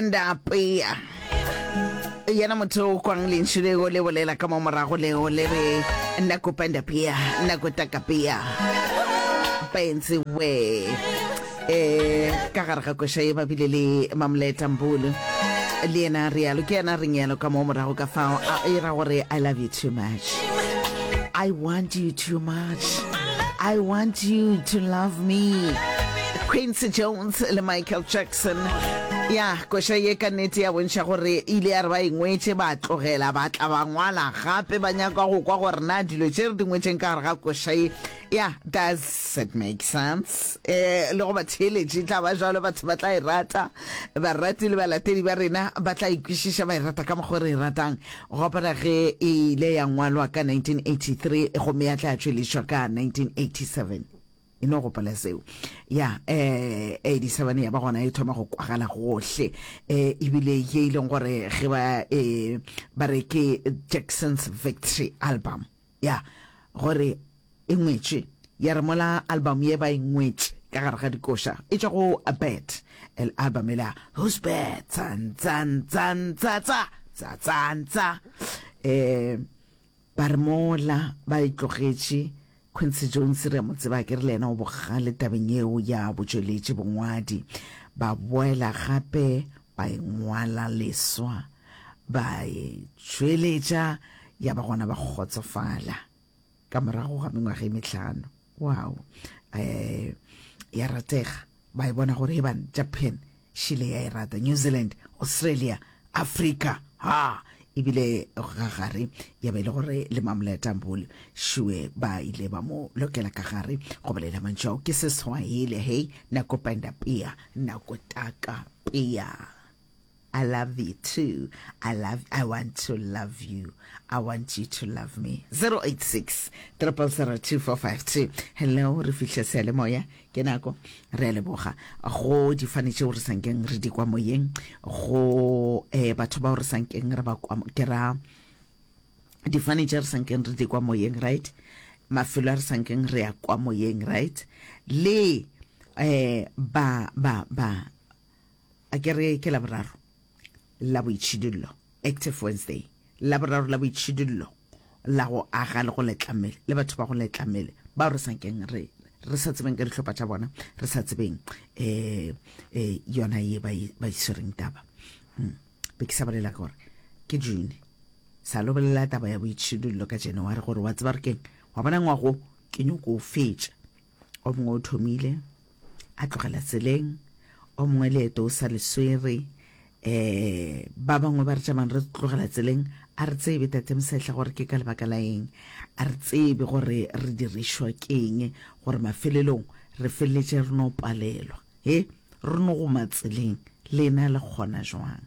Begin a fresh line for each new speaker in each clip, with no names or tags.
Ndapea. Yena motho o kwang lentšu leo le bolela ka mo morago leo le re nakupenda pia nakutaka pia penzi we eh ka gare ga koša ye ba bile le Mamleta Mbulu le yena a rialo ke yena a reng yalo ka mo morago ka fao a e ra gore I love you too much I want you too much I want you to love me Quincy Jones le Michael Jackson Ya, koša ye ka nnete ya bontšha gore e ile ya re ba e ngwetše ba tlogela ba tla ba ngwala gape ba nyaka go kwa gore na dilo tše re di ngwetšeng ka gare ga koša ye ya does it make sense eh le go ba theeletše e tla ba jalo batho ba tla e rata barati le balatedi ba rena ba tla e kwešiša ba e rata ka mokgwa re e ratang gopola ge e ile ya ngwalwa ka 1983 gomme ya tla tšweletšwa ka 1987 E no gopola seo. Ya, eh, 87 ya ba gona e thoma go kwagala gohle. Eh, ebile ye e leng gore ge ba, eh, ba re ke Jackson's Victory Album. Ya, gore e ngwetšwe. Ya re mola album ye ba e ngwetše ka gare ga dikoša, e tšwa go Bad, el album ela, Who's Bad? Tsan, tsan, tsan, tsa, tsa, tsa, tsan, tsa. Eh, ba re mola ba e tlogetše Quincy Jones re a mo tseba akere le yena o bogale tabeng yeo ya botšweletši bongwadi. Ba boela gape ba e ngwala leswa ba e tšweletša ya ba gona ba kgotsofala ka morago ga mengwaga e mehlano. Wow. Eh, ya ratega ba e bona gore e bang Japan Šile ya e rata. New Zealand, Australia, Afrika, ha ebile ga gare ya ba e le gore le Mamoleta Mbuli šue ba ile ba mo lokela ka gare go bolela mantšu ao ke Seswahili hei nakupenda pia nakutaka pia I love you too I love I want to love you I want you to love me 086 0002452 hello re fihla seyalemoya Ke nako. Re a leboga go difane tšeo re sa nkeng re di kwa moyeng, go eh, batho bao re sa nkeng re ba kwa, ke ra difane tše re sa nkeng re di kwa moyeng, right? Mafelo a re sa nkeng re ya kwa moyeng, right? Le eh, ba, ba, ba, a ke re ke Laboraro la boitšhidullo, Active Wednesday, Laboraro la boitšhidullo la go aga le go letla mmele, le batho ba go letla mmele bao re sa nkeng re re sa tsebeng ka dihlopha tša bona, re sa tsebeng eh eh yona ye ba e, ba e swereng taba. Hmm. Be ke sa bolela gore ke June sa lo bolela taba ya boitšhidullo ka January gore wa tseba re keng wa bona ngwago ke nyoko o fetša O mongwe o thomile a tlogela tseleng, o mongwe leeto o sa le swere. Um ba bangwe ba re tšamang re tlogela tseleng, a re tsebe Tate Mosehla gore ke ka lebaka la eng, a re tsebe gore re dirišwa ke eng gore mafelelong re feleletše re no palelwa. He, re no goma tseleng, lena le kgona jwang?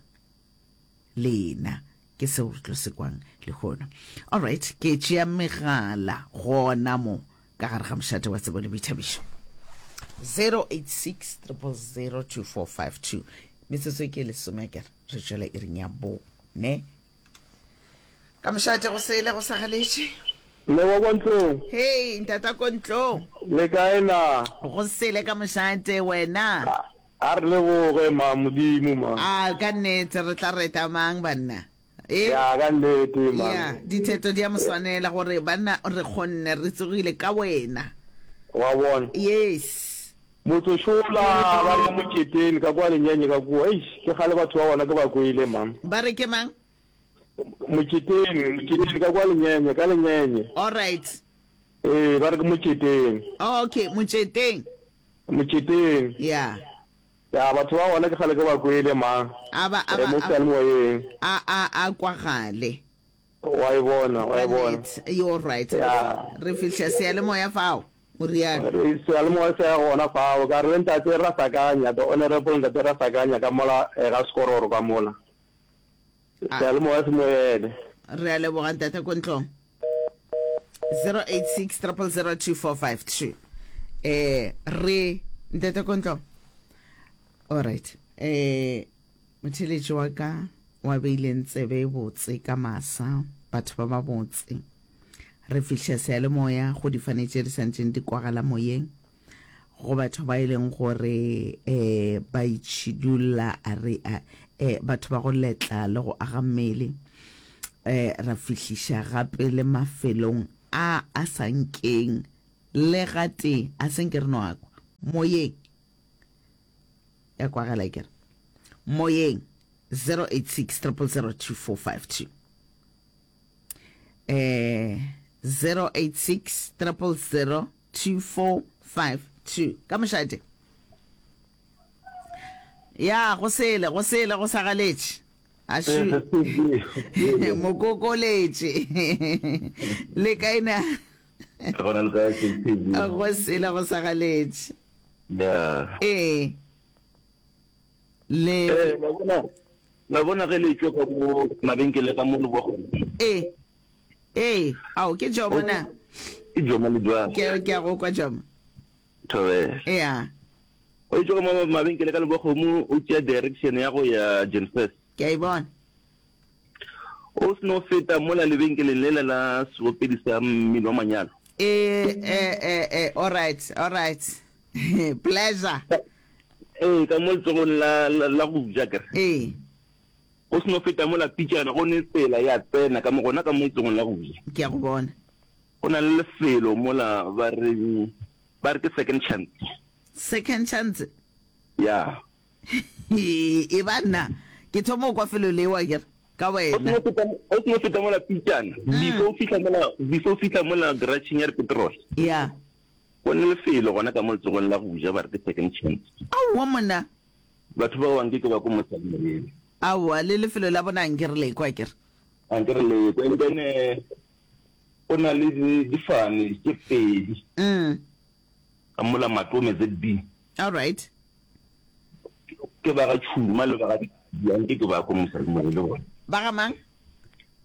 Lena. Ke seo re tlo se kwang lehono. Alright, ke tšea megala gona mo ka gare ga mošate wa tsebo le boithabišo. 086 000 2452. Metsotso ke lesome akere re tšwela iring ya bone. Ka mošate go sele go sa galetše.
Mme wa kwa ntlong.
Hei, ntata ko ntlong.
Le kae na?
Go sele ka mošate wena.
A re leboge ma Modimo ma.
A ka nnete re tla reta mang banna? E?
Ya ka nnete ma.
Ya, ditheto di a mo swanela gore banna re kgonne re tsogile ka wena.
Wa bona?
Yes.
Motsošola ba re moketeng ka kwa Lenyenye ka kua. Eish, ke kgale batho ba gona ke ba kwele ma.
Ba re ke mang?
Moketeng, moketeng ka kwa Lenyenye, ka Lenyenye.
All right.
Ee, ba re ke moketeng.
Okay, motšeteng.
Moketeng.
Ya.
Ya, batho ba gona ke kgale ke ba kwele, ma.
A ba, a
Eh,
ba,
mo
a,
seyalemoyeng.
a, a, a kwagale.
Wa e bona, wa
Ka
e bona.
nnete. You're right.
Ya.
Re fihla seyalemoya fao, o rialo.
Re, seyalemoya se ya gona fao. Ka re le Ntate Rasakanya, the Honorable Ntate Rasakanya ka mola, eh, ga Sekororo ka mola.
A.
Seyalemoya se mo ele.
Re a leboga, Ntate Kontlong. 086 000 2452. Eh, re, Ntate Kontlong. All right. Eh, motheletši wa ka wa beileng tsebe e botse ka masa, batho ba ba botse. Re fihla seyalemoya go difane tše di santšeng di kwagala moyeng. Go batho ba e leng gore eh ba itšhidulla a re a. eh, batho ba go letla le go aga mmele eh, ra fihliša gape le mafelong a a sa nkeng le gatee a se nke re no a kwa moyeng ya kwagala ke re moyeng 086 000 2452 eh 086 000 2452 ka mošate ya go sele go sele go sa galetše ašu mokokoletše le kae na
gona le kae
go sele go sa galetše
ya
ee le
eh la bona la bona ge le tšwa ka mo mabenkele ka mo le bogo
ee ee ao ke jomo na
ke jomo le jwang
ke ke a go kwa jomo
thobela
ya
O itše go mo mabenkele ka Lebokgomo o tšea direction ya go ya Jenfes.
Ke a e bona.
O seno feta mola lebenkeleng lela la seopedi sa mmino wa manyalo.
E, e, e, e, all right, all right. Pleasure.
Ee, ka mo letsogong la, la, la go ja kere.
Ee.
O seno feta mola pitšana go ne tsela ya tsena ka mo gona ka mo letsogong la go ja.
Ke a go bona.
Go na le lefelo mola ba reng ba re ke second chance.
Second chance?
Ya.
E ba nna ke thoma go kwa felo leo akere ka wena.
O seno feta mola pitšana before o fihla mola before o fihla mola garageng ya dipetrol.
Ya.
Go ne lefelo gona ka mo letsogong la go ja ba re ke second chance.
Aowa monna.
Batho bao anke ke ba ko mosadi moyeng.
Aowa le lefelo la bona anke re le kwa akere.
Anke re le kwa and then go na le difane tše pedi.
Mm.
Ka mola Matome ZB.
All right.
Ke ba ga Tšhuma le ba ga Tladi, anke ke ba ko mosadimogolo le bona.
Ba ga mang?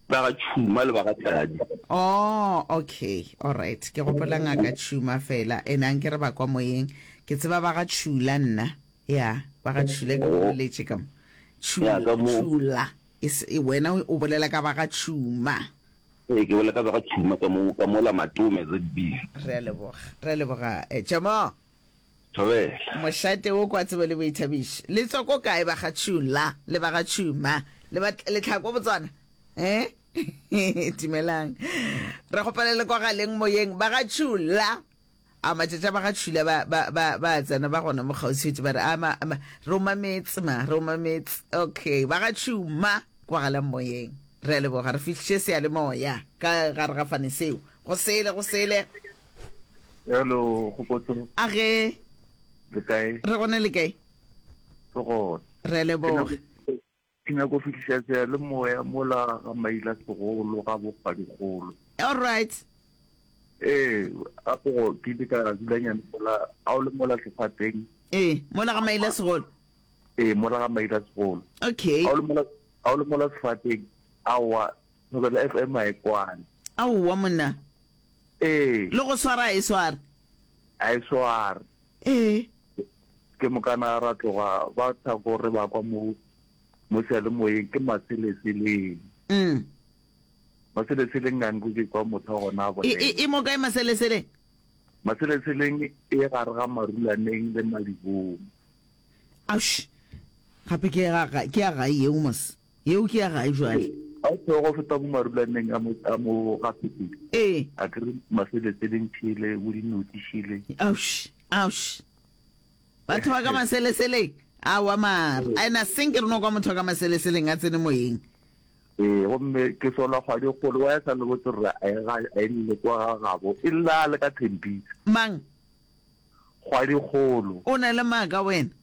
Ba ga Tšhuma le ba ga Tladi.
Oh, okay. All right. Ke gopola ngaka Tšhuma fela. Ene anke re ba kwa moyeng. Ke tseba ba ga Tšhula nna. Ya, ba ga Tšhula ke go boletše ka mo.
Ya,
Tšhula,
ka mo.
Tšhula. E se, wena o bolela ka ba ga Tšhuma.
Ee, ke bolela ka ba ga Tšhuma ka mo, ka mola Matome ZB.
Re a leboga, re a leboga eh, Tšomo.
Thobela.
Mošate wo kwa tsebo le boithabišo. Le tswa ko kae ba ga Tšhula le ba ga Tšhuma le ba le tlhako Botswana? Eh? Dumelang. Re kgopela le kwagaleng moyeng ba ga Tšhula. A matšatši a ba ga Tšhula ba ba ba ba tsena ba gona mo kgauswi ba re a ma, ma re o mametse ma re o mametse. Okay, ba ga Tšhuma kwagalang moyeng. Re a leboga re fihliše seyalemoya ka gare ga fane seo. Go sele go sele.
Hello, Kgopotso.
A ge.
Le kae?
Re gona le kae?
Re gona.
Re a leboga.
Ke nyako fihliša seyalemoya mola ga Maila Segolo ga Bokgwadikgolo.
All right.
Ee, gape go ke ile ka dulanyana mola a o le mola sefateng.
Ee, mola ga Maila Segolo.
Ee, mola ga Maila Segolo.
Okay.
A o le mola a o le mola sefateng, aowa, Thobela FM a e kwane.
Aowa monna.
Ee.
Le go swara a e sware.
A e sware.
Ee.
Ke mokana ra tloga ba thako re ba kwa mo mo seyalemoyeng ke Maseleseleng.
Mm.
Maseleseleng a nko ke kwa motho wa gona a
E,
bolela.
e, e mo kae Maseleseleng?
Maseleseleng e gare ga Marulaneng le Madibong.
Aush. Gape ke ya ga ke ya gae yeo mos. Yeo ke ya gae jwale.
Ga o theoga o feta bo Marulaneng a mo a mo ga Phepedi.
Ee.
A ke re Maseleseleng šele, bo Dinotši šele.
Aush. Aush. Batho ba ka Maseleseleng. Aowa mara. A ena senke re no kwa motho wa ka Maseleseleng a tsene moyeng.
Ee, gomme ke sola kgwadi e kgolo wa ya sa le botse gore a e ga a e lle kwa ga gabo e lla a le ka Thembisa.
Mang?
Kgwadi kgolo.
O na le maaka wena.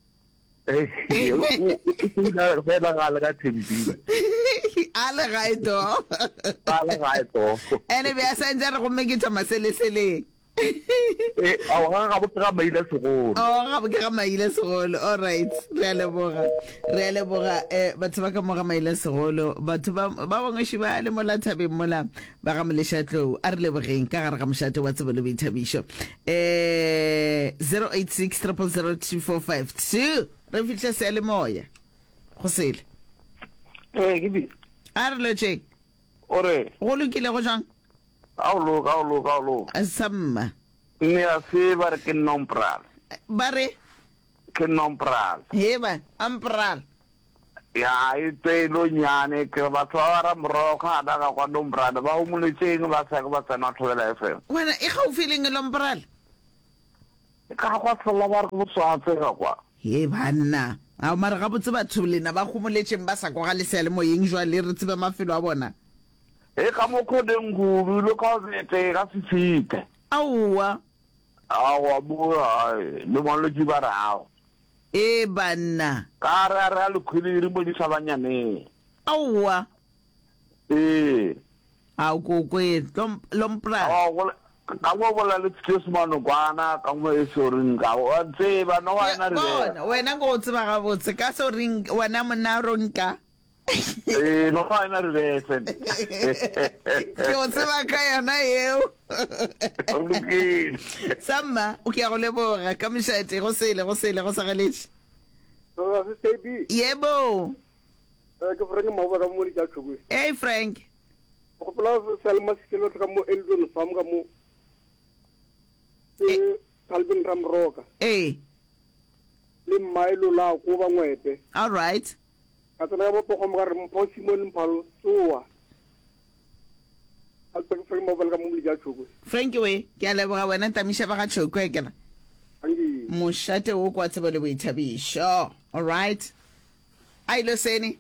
Ee, o o fela ga le ka Thembisa.
A le gae to.
A le gae to.
Ene be a sa ntse a re gomme ke tšwa Maseleseleng.
Eh, ao ga gabo ke ga Maila Segolo.
Oh, gabo ke ga Maila Segolo. All right. Re a leboga. Re a leboga eh batho ba ka mo ga Maila Segolo, batho ba ba bangwe še ba le mola thabeng mola ba ga Molešatlou. A re lebogeng ka gare ga mošate wa tsebo le boithabišo. Eh 086 000 2452. Re fihla seyalemoya. Go sele.
Eh, ke bi.
A re lotšeng.
O re.
Go lokile go jwang?
A o loka, a o loka, a o loka.
Samma.
Mme a se ba re ke Nompral.
Ba re?
Ke Nompral.
He ba, Ampral.
Ya, e tselo nyane, ke re batho ba ba Ramorogo ana ga kwa Lombrana ba homoletšeng ba sa ke ba tsena Thobela FM.
Wena e gaufi leng Lombrana?
E ka kwa Sella ba re ke boswatse ka kwa.
He banna. Ao mara gabotse batho lena ba homoletšeng ba sa kwa ga le seyalemoyeng jwale re tsebe mafelo a bona.
E ka mo kgoneng kudu le ka bete ka se fite.
Aowa.
Aowa mo hai le malwetši ba re ao.
Ee banna.
Ka re a re a lekhwiliri mo dihlabanyaneng.
Aowa.
Ee.
Ao ko kwe lompra.
Aowa go ka mo bolela le Tseso Manokwana ka mo e soring ka wa tseba no wa ena re.
Bona wena go tseba gabotse ka soring wena monna ronka.
Ee, no ga ena reverse.
Ke o tseba ka yona eo.
O lokile.
Samma, o ke ya go leboga ka mošate go sele go sele go sa galetše. Yebo.
Eh, ke Frank Maboba ka mo ditša Tšhokwe.
Hey Frank.
Gopola Selma Sekelo ka mo Eldon Farm ka mo. Ke Calvin Ramroka.
Ee.
Le Mmaelo la ko ba ngwepe.
All right.
Ka tsena ka bopogong ka re, Mpho Simon Mphalo, tsoa. A tswa ke Frank Mabala ka mo Moledi a Tšhokwe.
Frank we, ke a leboga wena Tamiša ba ga Tšhokwe ke re.
Anke.
Mošate wo kwa tsebo le boithabišo. All right. A ilo sene.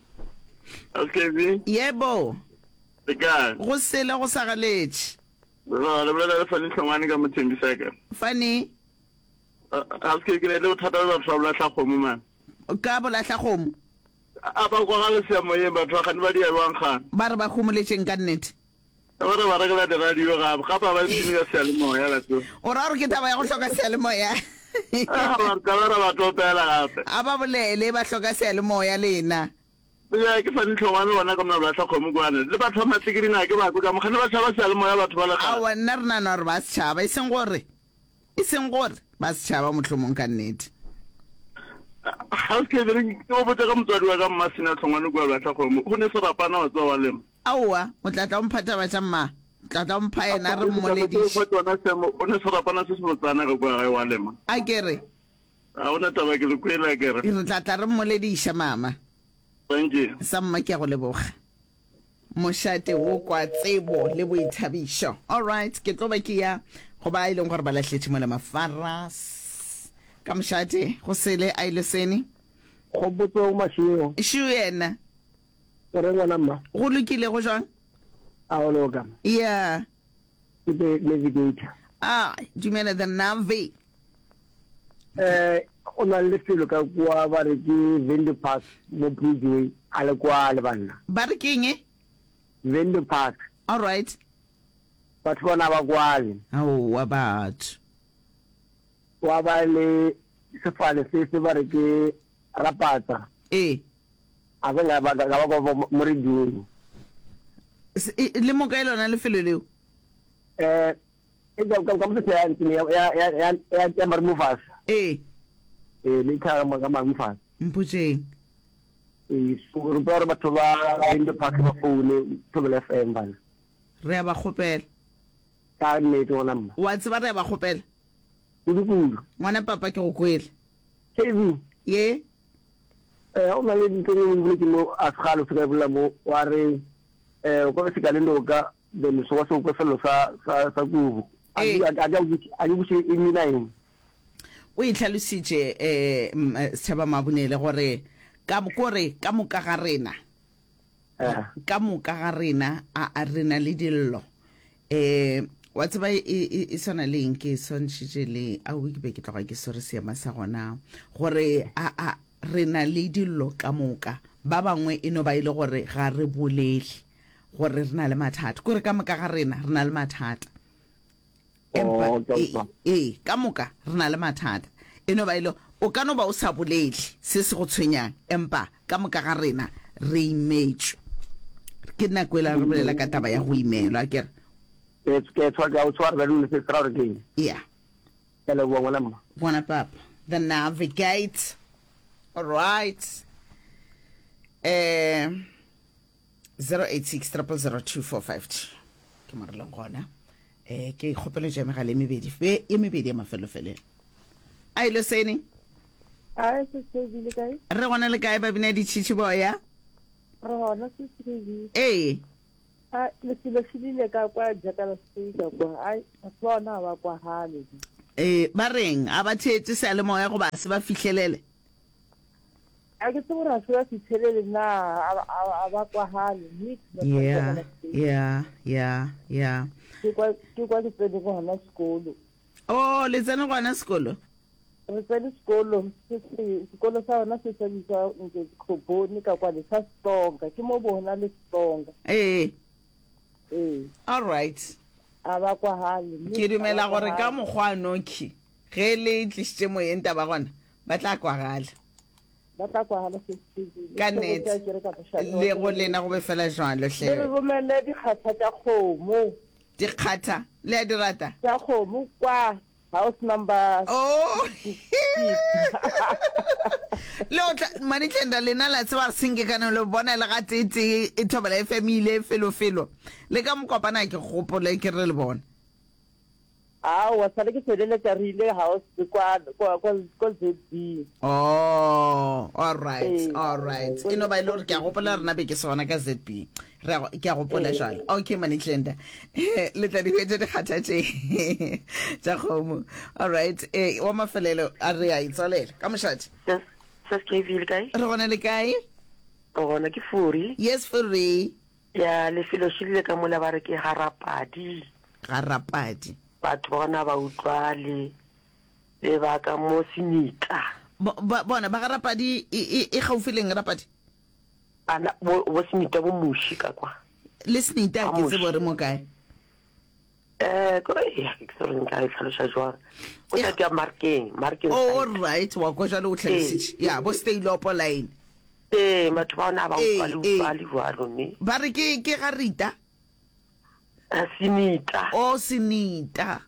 SKB.
Yebo.
Le kae?
Go sele go sa galetše.
Le bolela le Fanny Hlongwane ka mo Thembiseka.
Fanny.
Ga se ke ke le bothata le batho ba bolahla kgomo man.
Ka bolahla kgomo.
A ba kwagale seyamoyeng batho ba kgane ba dia bjang kgane.
Ba re ba homoletšeng ka nnete.
Ba re ba rekela di radio gape gape ga ba ipshine ka seyalemoya la tseba.
O ra gore ke taba ya go hloka seyalemoya?
A ba re tla ba ra ba topela gape.
A ba bolele ba hloka seyalemoya lena.
Ya ke Fanny Hlongwane gona ka mona bolahla kgomo kwane. Le batho ba Matlikiring a ke ba kwe ka mo kgane ba tšhaba seyalemoya batho ba le kgale.
Aowa nna re nahana gore ba setšhaba e seng gore E seng gore ba setšhaba mohlomong ka nnete.
Ga se ke re ke go botša ka motswadi wa ka Mmasina Hlongwane kua Lahlakgomo, go ne serapana wa tseba wa lema.
Aowa, o tla tla o mpha taba tša mma. O tla tla o mpha yena re mmolediše.
O ne serapana se sebotsana ge kua gae wa lema.
A ke re.
Ga go na taba ke le kwele a ke re.
Re tla tla re mmolediša mama.
Thank you.
Sa mma ke a go leboga. Mošate wo kwa tsebo le boithabišo. Alright, ke tlo ba ke ya go ba e leng gore ba lahletše mola mafaras ka mošate go sele a ile sene.
Kgopotso Mašego.
Šu yena.
O reng ngwana mma?
Go lokile go jwang?
A o loka.
Yeah.
Ke the navigator.
Ah, dumela the navi.
Eh, o na le lefelo ka kua ba re ke Vendo Park mo Bridgeway, a le kwa le banna.
Ba re ke eng?
Vendo Park.
All right.
Batho bona ba kwale.
Aowa batho.
Wa ba le sefale se se ba re ke Rapatsa.
Ee.
A se ka ba ka ba kwa mo radiong.
Le mo kae lona lefelo leo?
Eh, E ka ka ka motho ya ntsene ya ya ya ya ya ya Marumofasa.
Ee.
Ee, le tha ka Marumofasa.
Mpotšeng.
Ee, so re kopa gore batho ba Window Park ba foune Thobela FM bana.
Re a ba kgopela.
Ka nnete gona mma.
Wa tseba re a ba kgopela.
Kudu kudu.
Ngwana papa ke go kwele.
KB.
Ye.
Eh, o na le ntho e nngwe o boletse mo a segalo se ka e bolela mo wa re eh o ka se ka le noka Then so wa se kwe sello sa sa sa kubu. A
Ee.
ke a ke a ke buše e mina eng.
O e hlalositše eh, m- eh, Setšhaba Mabunele gore ka kore ka moka ga rena
Eh.
ka moka ga rena a a re na le dillo eh wa tseba e, e, e, e swana le eng ke e swantšhitše le aowi ke be ke tloga ke swere seema sa gona gore a a re na le dillo ka moka ba bangwe e no ba e le gore ga re bolele gore re na le mathata kore ka moka ga rena re na le mathata empa
Oh, ke a
ee
utlwa.
ee, ka moka re na le mathata e no ba e le o ka no ba o sa bolele se se go tshwenyang empa ka moka ga rena re imetšwe ke nako e la re bolela ka taba ya go imelwa a kere
Ke ke tshwa ke a o tshwara ba dule se se ra gore ke eng.
yeah
Ke a leboga ngwana mma.
ngwana papa the navigate all right eh 086 000 2452 ke mo re leng gona um ke kgopelo ja megala e mebedi fe e mebedi ya mafelofelelo a ile sene.
Ae, Sis KB, le kae?
Re gona le kae babina ditšhitšhi boya?
Re gona Sis KB.
Ee.
A lefelo šidile ka kwa Jackal Speaker kwa. Ai, batho ba ona ga ba kwagale.
Ee, ba reng? A ba theetše seyalemoya goba a se ba fihlelele?
A ke tsebe gore a se ba fihlelele na, a ba kwagale. Nix batho ba
Yeah,
Jackal Speaker.
yeah, yeah, yeah.
Ke kwa ke kwa ke tsene gona sekolo.
Oh, le tsene gona sekolo?
Re tsene sekolo se se sekolo sa rona se sa bitswa nke Khoboni ka kwale sa Setsonga ke mo bona le Setsonga.
Ee.
Ee.
All right.
A ba kwagale.
Ke dumela gore ka mokgwa nokhi ge le tlišitše moyeng taba gona ba tla kwagala.
Ba tla kwagala se
Ka nnete. Le go lena go be fela jwalo hle.
Le re romele dikgatha tša kgomo.
Dikgatha le a di rata?
Tša kgomo kwa House number.
Oh. Le o tla Manitlenda lena la tseba re senke kana le bona le ga tee tee e thobela FM ile felo felo. Le ka mokopana ke gopole ke re le bona.
Aowa sale ke feleletša re ile house kwa kwa kwa kwa ZB.
Oh, all right,
Ee.
all right. E no ba e le gore ke a gopola rena be ke se gona ka ZB. Re a go- ke a gopola
Ee.
jwale. Okay, Manitlenda. Le tla di hwetša dikgatha tše tša kgomo. All right. Eh, wa mafelelo a re a itswalela. Ka mošate.
Sis sis KV le kae?
Re gona le kae?
Re gona ke Furi.
Yes, Furi.
Ya lefelo šilile ka mola ba re ke Garapadi.
Garapadi.
Batho ba gona ba utlwale le ba ka mo Senitla.
Bo, ba, bona ba Garapadi e, e, e gaufi leng Rapadi?
Bana bo, bo Senita bo Muši ka kwa.
Le Senita
Ga
ke tsebo
Muši.
re mo kae.
Eh, ko ya ke tsebe gore nka e tlhaloša jwang. Go
E,
tla ke Markeng, Markeng
all
side.
right, wa kwa jwale o
Ee.
tlhalositše. Ya, bo Steylopo line.
Ee, batho ba ona ba
Ee,
utlwale
ee.
utlwale jwalo ne.
Ba re ke, ke ga Rita.
Eh, Senita.
O Senita.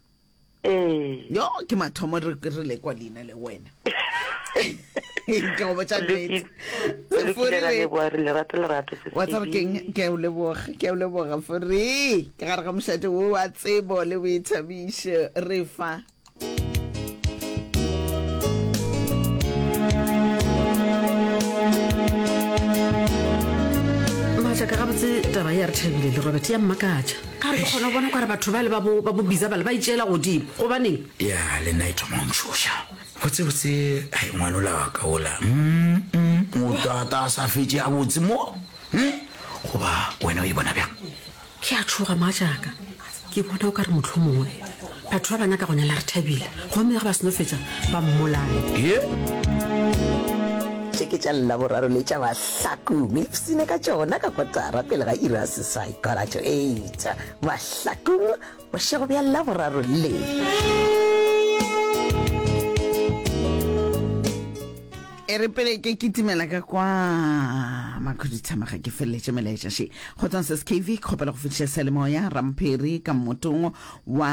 Ee.
Yo, ke mathomo re, re lekwa leina le wena. Ke go botša nnete.
Re
Fori
lokile ra
we.
leboga re lerato lerato se
Wa tseba keng? Ke a o leboga, ke a o leboga Fori. Ke gare ga mošate wo wa tsebo le boithabišo re fa.
Matšaka gabotse taba ya re thabile le Robert ya mmakatša. Ka re ke kgona go bona kare batho bale ba bo ba bo bisa bale ba itšeela godimo. Gobaneng?
Ya le nna e thoma go ntšhoša. Botsebotse ai ngwanola wa ka ola. Mm, mm, o tata a sa fetše gabotse mo. Mm, goba wena o e bona bjang?
Ke a tšhoga mogatšaka. Ke bona o ka re mohlomongwe batho ba ba nyaka go nyala Rethabile, gomme ge ba seno fetša ba mmolaye.
Ye.
Tše ke tša Laboraro le tša Mahlakong. Ipsine ka tšona ka kotara pele ga iri ya seswai, quarter to eight. Mahlakong, bošego bja Laboraro le.
E re pele ke kitimela ka kwa makhuduthamaga ke feleletše melaetša še. Kgotsong Sis KV, ke kgopela go fetiša seyalemoya Ramphiri ka mmotong wa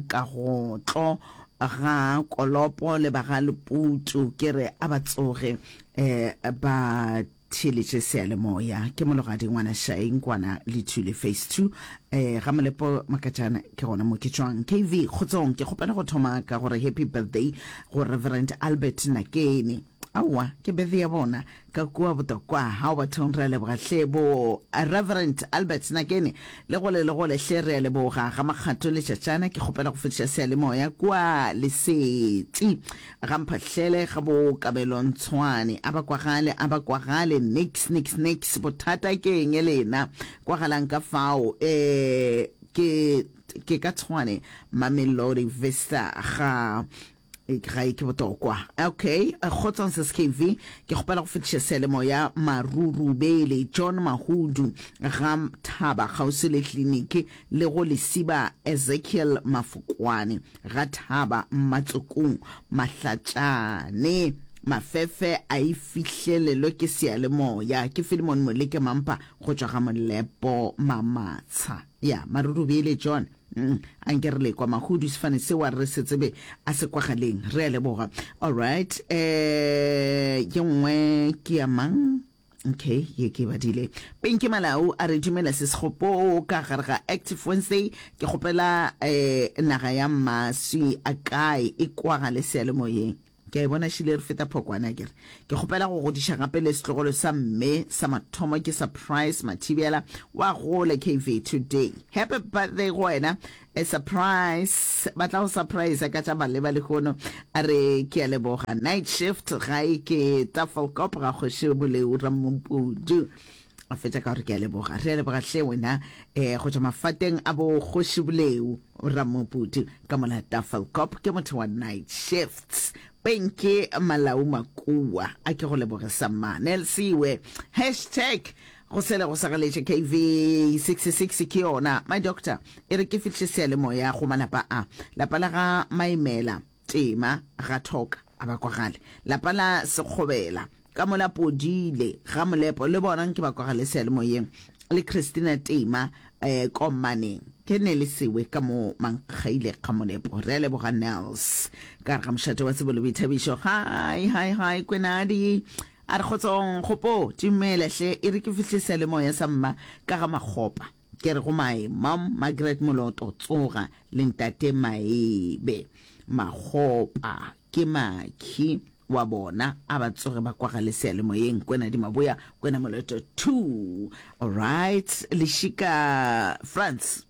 Kagotlo ga Kolopo le ba ga Leputu ke re a ba tsoge um ba Theeletše seyalemoya. Ke Mologadi ngwana Shai Nkwana Lethule Phase 2 eh ga Molepo Makatšana ke gona mo ke tšwang. KV Kgotsong ke kgopela go thoma ka gore happy birthday go Reverend Albert Nakene. Aowa ke birthday ya bona ka kua Botokwa. Hao bathong re a leboga hle bo Reverend Albert Nakene le gole le gole hle re a leboga. Ga Makgato Letšatšana ke kgopela go fetiša seyalemoya kua Lesetsi. Ga Mphahlele, ga bo Kabelo Ntshwane. A ba kwagale, a ba kwagale, niks, niks, niks. Bothata ke eng lena? Kwagalang ka fao. E, ke, ke ka Tshwane, Mamelodi Vista, ga, ga e ke botokwa. Okay, kgotsong Sis KV, ke kgopela go fetiša seyalemoya Marurubele, John Mahudu, ga Thaba, kgauswi le kliniki, le go Lesiba Ezekiel Mafokwane. Ga Thaba Mmatsokong Mahlatšane Mafefe a e fihlelelwe ke seyalemoya ke Philemon Moleke Mampa go tšwa ga Molepo Mamatsha. Ya Marurubele John mm, a nke re lekwa Mahudu sefane se wa re se tsebe a se kwagaleng. Re a leboga. Alright, eh ye nngwe ke ya mang? Okay, ye ke e badile. Pinky Malau a re dumela se sekgopo ka gare ga Active Wednesday. Ke kgopela eh naga ya maswi a kae e kwagale seyalemoyeng. Ke a e bona šile re feta phokwane akere. Ke kgopela go godiša gape le setlogolo sa mme sa mathomo ke Surprise Mathibela wa gola KV today. Happy birthday go wena eh, Surprise. Ba tla go surprise ka tša maleba lehono. A re ke a leboga. Night shift gae ke Tafelkop ga kgoši Boleu Ramompudu. A fetša ka gore ke a leboga. Re a leboga hle wena eh, go tšwa mafateng a bo Kgoši Boleu Ramopudi ka mola Tafelkop ke motho wa night shifts. Penke Malau Makua a ke go leboge sa mma. Nelsiwe hashtag go sele go sagaletše KV 66 ke yona. My doctor e re ke fihle seyalemoya go malapa a. Lapa la ga Maimela Tema ga Thoka a ba kwagale. Lapa la Sekgobela ka mola Podile ga Molepo le bona nke ba kwagale seyalemoyeng le Christina Tema eh, Kommaneng ke ne le sewe ka mo Mankgaile ga Molepo. Re a leboga Nels ka gare ga mošate wa tsebo le boithabišo. Hi hi hi Kwenadi a re kgotsong kgopo dumela hle e re ke fihle seyalemoya sa mma ka ga Makgopa. Ke re go mae Mom Margaret Moloto tsoga le ntate Maebe Makgopa ke makhi wa bona a ba tsoge ba kwagale seyalemoyeng Kwena di Maboya Kwena Moloto 2 Alright Lešika France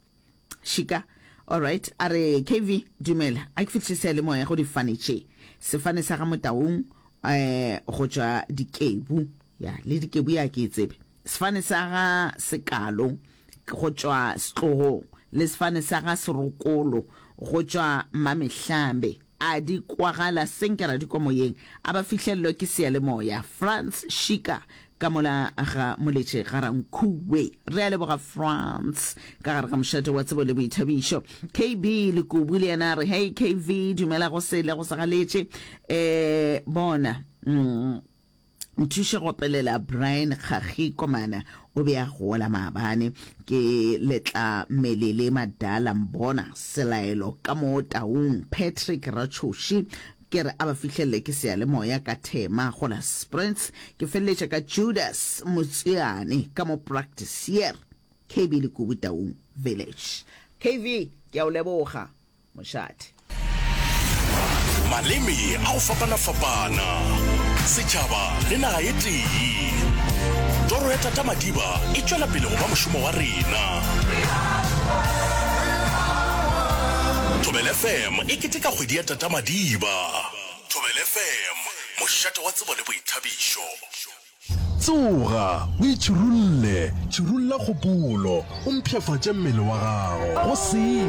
Šika Alright a re KV dumela a ke fihle seyalemoya go difane tše sefane sa ga Motaung eh go tšwa Dikebu ya le Dikebu ya ke e tsebe Sefane sa ga Sekalo go tšwa Setlogong le sefane sa ga Serokolo go tšwa Mamehlambe a di kwagala senke ra di kwa moyeng, a ba fihlellwe ke seyalemoya. Frans Shika ka mola ga Moletše ga Rankhuwe. Re a leboga Frans ka gare ga mošate wa tsebo le boithabišo. KB Lekubu le yena a re, Hei KV, dumela go sele go sa galetše. Eh, bona. Mm. Nthuše go opelela Brian Kgakgi Komana o be a gola maabane ke Letlamelele Madala Mbona Selaelo ka mo Taung Patrick Ratšhoši ke re a ba fihlelele ke seyalemoya ka Thema go la Sprints ke feleletša ka Judas Motswiane ka mo Practice KB Lekubu Taung Village KV ke a o leboga. Mošate.
Maleme a go fapana-fapana, setšhaba le naga e tee. Toro ya Tata Madiba e tšwela pele go ba mošomo wa rena. Thobela FM e keteka kgwedi ya Tata Madiba. Thobela FM, mošate wa tsebo le boithabišo.
Tsoga, o itšhirulle, tšhirulla kgopolo, o mpshafatše mmele wa gago. Go se.